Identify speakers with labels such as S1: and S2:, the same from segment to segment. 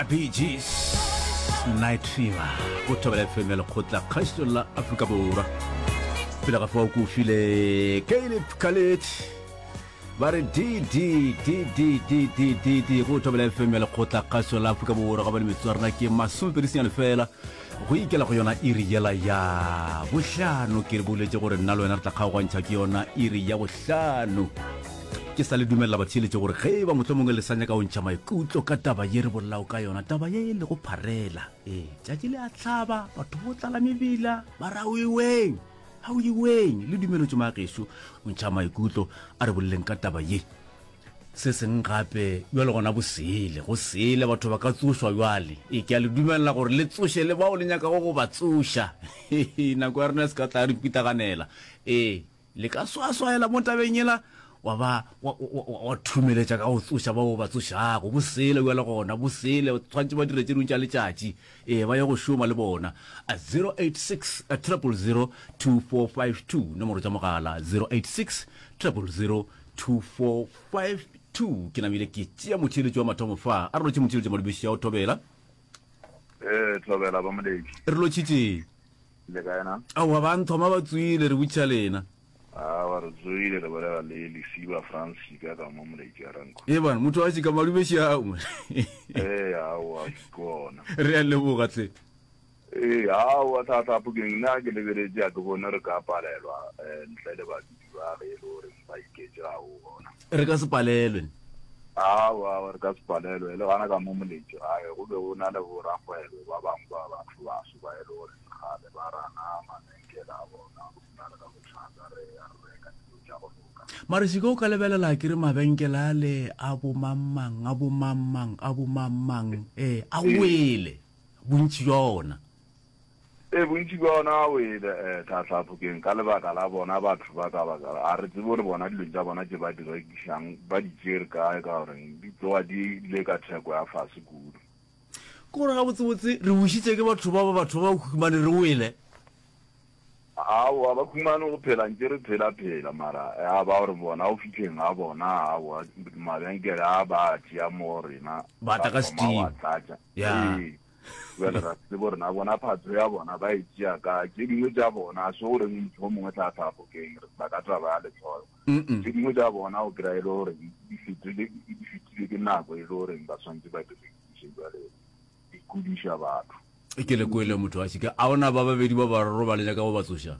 S1: A Bee Gees, Night Fever, go Thobela FM ya Lekgotla Kgašo la Afrika Borwa. Pele ga fao ko file Caleb Khaled ba re D D D D D D D D go Thobela FM ya Lekgotla Kgašo la Afrika Borwa ga bane metsotso ya rena ke masomepedi senyane fela go ikela go yona iri yela ya bohlano ke re boletše gore nna le wena re tla kgaogantšha ke yona iri ya bohlano Ke sa le dumelela batheeletši gore ge e ba mohlomongwe le sa nyaka go ntšha maikutlo ka taba ye re bolelago ka yona, taba ye e lego pharela. Ee, tšatši le a hlaba, batho bo tlala mebila, ba re aoiweng, aoiweng. Le dumeletšwe magešo go ntšha maikutlo, a re boleleng ka taba ye. Se seng gape, bjale gona bosele, go sele, batho ba ka tsošwa bjale. Ee, ke a le dumelela gore le tsoše le bao le nyakago go ba tsoša. Nako ya rena e se ka tla ya re pitaganela. Ee. Le ka swaswaela mo tabeng yela, wa ba wa, wa, wa, wa thumeletša ka go tsoša bao ba tsošago. Bosele bjale gona, bosele, tshwanetše ba dire tše dingwe tša letšatši. Ee, ba ye go šoma le bona. 086 000 2452, nomoro tša mogala 086 000 2452. Ke namile ke tšea motheeletši wa mathomo fa. A re lotšhe motheeletši Madubeši ya go thobela.
S2: Ee, thobela ba moletši.
S1: Re lotšhitše.
S2: Le kae na?
S1: Aowa, ba nthoma ba tsoile, re botšiša lena.
S2: Aowa, re tsoile, re bolela le Lesiba Frans Šika ka mo Moletši a Ranko.
S1: Ee bana, motho wa Šika Madubeši ao.
S2: Ee, aowa, ke ona.
S1: Re a leboga tle.
S2: Ee, aowa, thata Phokeng, nna ke lebeletše a ke bone re ka palelwa eh, ntle le badudi ba ge e le gore ba iketše ga o gona.
S1: Re ka se palelwe.
S2: Aowa, aowa, re ka se palelwe. Le gana ka mo Moletši gae go be go na le borakgwebo ba bangwe ba batho baso ba e le gore kgale ba rana mabenkele a bona go na le ka bothata re ya re reka dilo tša go loka.
S1: Mara šika o ka lebelela ke re mabenkele ale a bo mang-mang, a bo mang-mang, a bo mang-mang, ee, a wele, bontši bja ona.
S2: Ee, bontši bja ona a wele, eh, Tlhatlhaphokeng, ka lebaka la bona batho ba ka baka, ga re tsebe gore bona dilong tša bona tše ba di rekišang ba di tšere kae, ka goreng di tloga di ile ka theko ya fase kudu.
S1: Ke gore gabotsebotse re wišitše ke batho ba ba batho ba ba khumane re wele.
S2: Aowa ba khumane go phela ntše re phela phela mara ya ba gore bona go fihleng ga bona aowa mabenkele a ba a tšea mo rena
S1: Ba tla ka
S2: thoma go
S1: steam.
S2: a tlatša.
S1: Ya.
S2: Ee. Bjale ra se tsebe gore na bona phatho ya bona ba e tšea kae. Tše dingwe tša bona a se gore motho o mongwe tla tla bokeng re tla ka taba ya lehloyo. Tše dingwe tša bona o kry-a e le gore di fetile di fetile ke nako e le goreng ba swanetše ba di rekiše bjale di kudiša batho.
S1: Ke le kwele motho wa šika. A ona ba babedi ba bararo ba le nyaka go ba tsoša?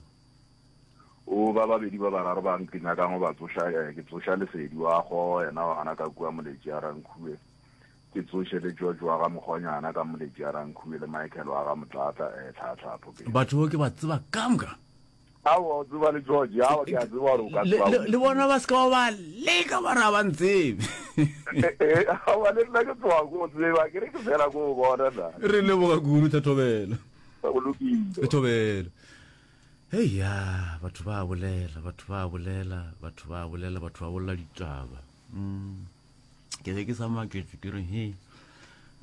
S2: O ba babedi ba bararo ba ke nyakang go ba tsoša eh, ke tsoša Lesedi wa go yena wa gana ka kua Moletši a Rankhuwe. Ke tsoše le George wa ga Mokgonyana ka Moletši a Rankhuwe le Michael wa ga Motlatla eh, Tlhatlhapho ke.
S1: Batho bao ke ba tseba kamoka.
S2: Aowa, o tseba le George. Aowa, ke a tseba gore o ka
S1: Le,
S2: tseba
S1: le, le bona ba se ka ba ba leka ba re ga ba ntsebe.
S2: Eh, eh, aowa, le nna ke tloga ko o tseba, ke re ke fela ko o bona na.
S1: Re leboga kudu, Thobela.
S2: Go lokile.
S1: Thobela. Hei ya, batho ba bolela, batho ba bolela, batho ba bolela, batho ba bolela ditaba. Mm. Ke ge ke sa maketše ke re he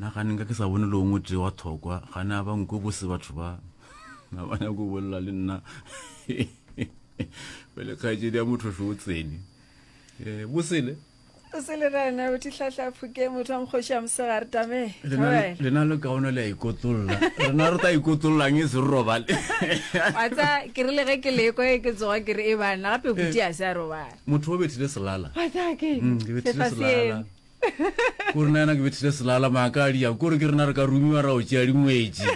S1: nna gane nka ke sa bone le ongwe tee wa thokwa gane a ba nkwe bose batho ba na ba nyako bolela le nna pele kgaetšedi ya motho šo o tsene um bosele
S3: O se le rena o tihlahla phuke motho wa mokgoši ya mosegare tame.
S1: Lena le kaone le a ikotlolla. Rena re tla ikotollang e se re robale.
S3: Wa tsa ke rile ge ke lekwa ke tsoga ke re e bana gape buti a se a robala.
S1: Motho o bethile selala.
S3: Wa tsa ke.
S1: Mm, ke bethile selala. Ko rena yena ke bethile selala maaka a dia. Ko re ke rena re ka rumiwa ra o tšea dingwetši.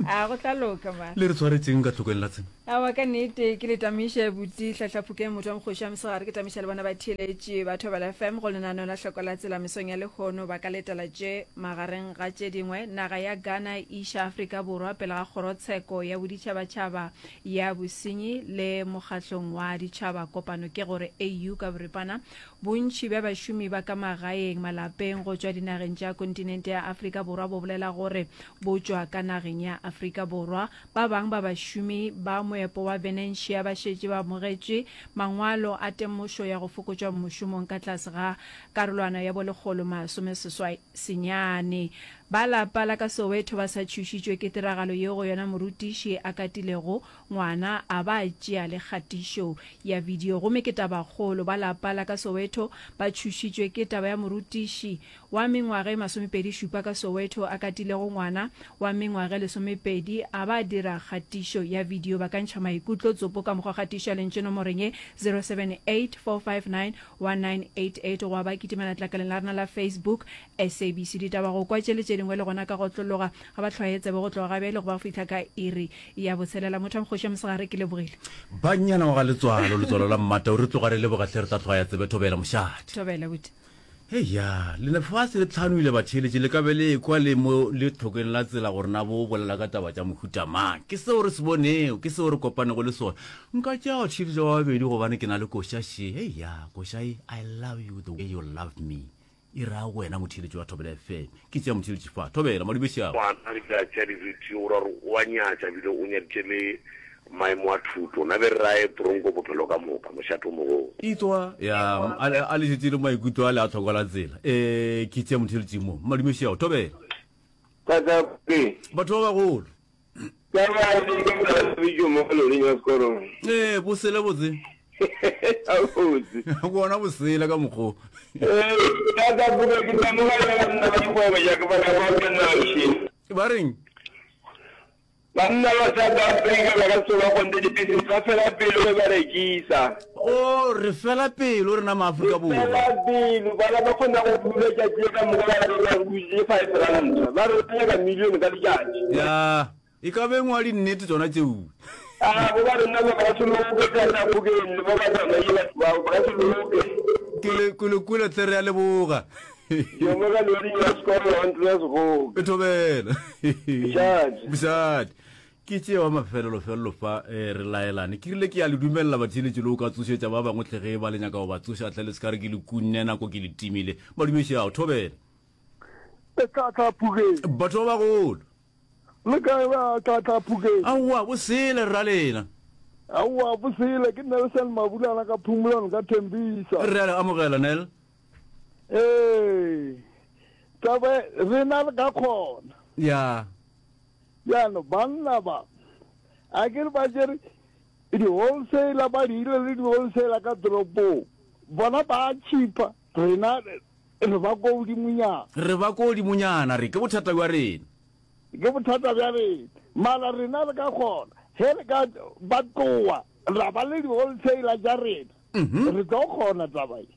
S3: A go tla loka ma.
S1: Le re tshwaretseng ka tlhokong la tsena.
S3: Aowa ka nnete ke le tamiše buti Hlahlaphukeng motho wa mokgoši wa mosegare ke tamiša le bona batheeletši ba Thobela FM go lenaneo la Hloko la Tsela mesong ya lehono ba ka letela tše magareng ga tše dingwe naga ya Ghana e iša Afrika Borwa pele ga kgorotsheko ya boditšhabatšhaba ya bosenyi le mokgahlong wa ditšhaba kopano ke gore AU ka boripana Bontši bja bašomi ba ka magaeng malapeng go tšwa dinageng tša kontinente ya Afrika Borwa bo bolela gore bo tšwa ka nageng ya Afrika Borwa. Ba bang ba bašomi ba moepo wa Venetia ba šetše ba amogetše mangwalo a temošo ya go fokotšwa mošomong ka tlase ga karolwana ya bo 189. Ba lapa la ka Soweto ba sa tšhošitšwe ke tiragalo yeo go yona morutiši a katilego ngwana a ba a tšea le kgatišo ya video. Gomme ke tabakgolo, ba lapa la ka Soweto ba tšhošitšwe ke taba ya morutiši wa mengwaga e masomepedi-šupa ka Soweto a katilego ngwana wa mengwaga e lesomepedi a ba a dira kgatišo ya video. Ba ka ntšha maikutlo tsopo ka mokgwa kgatišo ya lentšu nomorong ye 078 459 1988 goba ba kitimela tlakaleng la rena la Facebook SABC Ditaba go kwa tše le tše dingwe le gona ka go otlologa ga ba hlwaye tsebe go tloga ga bjale go ba go fihla ka iri ya botshelela. Motho wa mokgoši wa mosegare ke lebogile.
S1: Bannyana wa ga Letswalo, Letswalo la Mmatau, re tloga re leboga hle re tla hlwaya tsebe Thobela mošate.
S3: Thobela buti.
S1: Heya, le lefase le tlhanoile batheeletši le ka be le ekwa le mo le tlhokeng la tsela gore na bo bolela ka taba tša mohuta mang. Ke seo re se bonego, ke seo re kopanego le sona. Nka tšea batheeletši ba babedi gobane ke na le koša še. Heya, koša e, I love you the way you love me. E ra wena motheeletši wa Thobela FM. Ke tšea motheeletši fa. Thobela, madume šiago.
S4: Ngwana re tla tšea di-video o ra gore o a nyatša bile o nyaditše le maemo a thuto. Na be re raye tronko bophelo ka moka, mošate o mogolo.
S1: Etswa, ya, a le šetše le maikutlo a le a tlhokola tsela. Eh, ke tšea motheeletši mo. Madume šiago. Thobela.
S5: Tata,
S1: Batho ba bagolo. Ee, bosele botse. Bona bosele ka mokgo. Ba reng?
S5: Banna ba South Africa ba ka se ba kgonte dipisi ba fela pelo ge ba rekisa.
S1: O re fela pelo rena maAfrika Borwa.
S5: Fela pelo bana ba kgona go dula tšatši le ka moka ba re ba dutše R5 ba re ba nyaka million ka letšatši.
S1: Ya, e ka be ngwa dinnete tsona tšeo.
S5: A bo ba rena ba ka se loke ka sa bokeng le ba ba tsamaye batho bao ba ka se loke.
S1: Ke le ke le kwele tle re a leboga.
S5: Yo mo ka loading ya sekolo wa ntlo ya segoka.
S1: E thobela.
S5: Bošate.
S1: Bošate. Ke tše wa mafelelo-felelo fa eh, re laelane. Ke rile ke ya le dumelela batheeletši le o ka tsošetša ba bangwe hle ge e ba le nyaka go ba tsoša hle le se ka re ke le kunne nako ke le timile. Madumeši ao, thobela.
S6: E tla tla Phukeng.
S1: Batho ba bagolo.
S6: Le kae ba tla tla Phukeng?
S1: Aowa, bosele rra lena.
S6: Aowa, bosele. Ke Nelson Mabulana ka Phumulano ka Thembisa.
S1: Re a le amogela, Nel.
S6: Ee. Taba rena re ka kgona.
S1: Ya.
S6: Bjalo banna ba, a ke re ba tšere di-wholesaler ba dirile le di-wholesaler ka toropong, bona ba cheaper, rena re ba ko godimonyana.
S1: Re ba ko godimonyana, re ke bothata bja rena.
S6: Ke bothata bja rena, mara rena re ka kgona ge re ka ba tloa ra ba le di-wholesaler tša rena, re tlo kgona taba ye.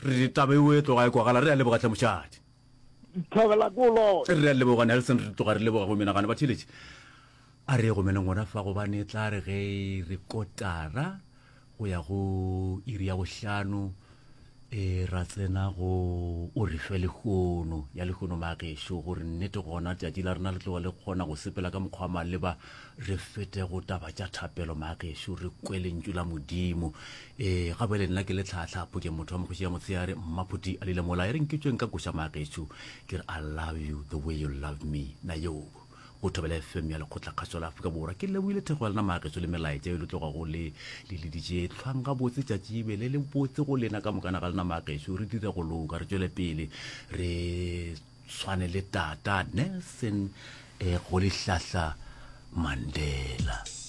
S1: Re taba eo e tloga e kwagala, re a leboga hle mošadi.
S6: Thobela ko lona.
S1: Re a leboga Nelson, re tloga re leboga go menagano batheeletši. A re ye go meneng gona fa gobane e tla re ge re kotara go ya go iri ya bohlano e ra tsena go o re fe lehono ya lehono magešo gore nnete gona tšatši la rena le tloga le kgona go sepela ka mokgwa maleba re fete go taba tša thapelo magešo re kwe lentšu la modimo Ee, ga bjale nna ke le tlhaatlhaapo ke motho wa mokgoši ya motshehare, Mmaphuti a lile mola e re nke tšweng ka koša magešo ke re I love you the way you love me na yo go Thobela FM ya Lekgotlakgašo la Afrika Borwa. Ke lebohile thekgo ya lena magešo le melaetša e le tlogago le le leditše. Hlwang gabotse tšatši e be le le botse go lena ka mokana ga lena magešo. Re dire go loka, re tšwele pele re tshwane le tata Nelson eh, Rolihlahla Mandela.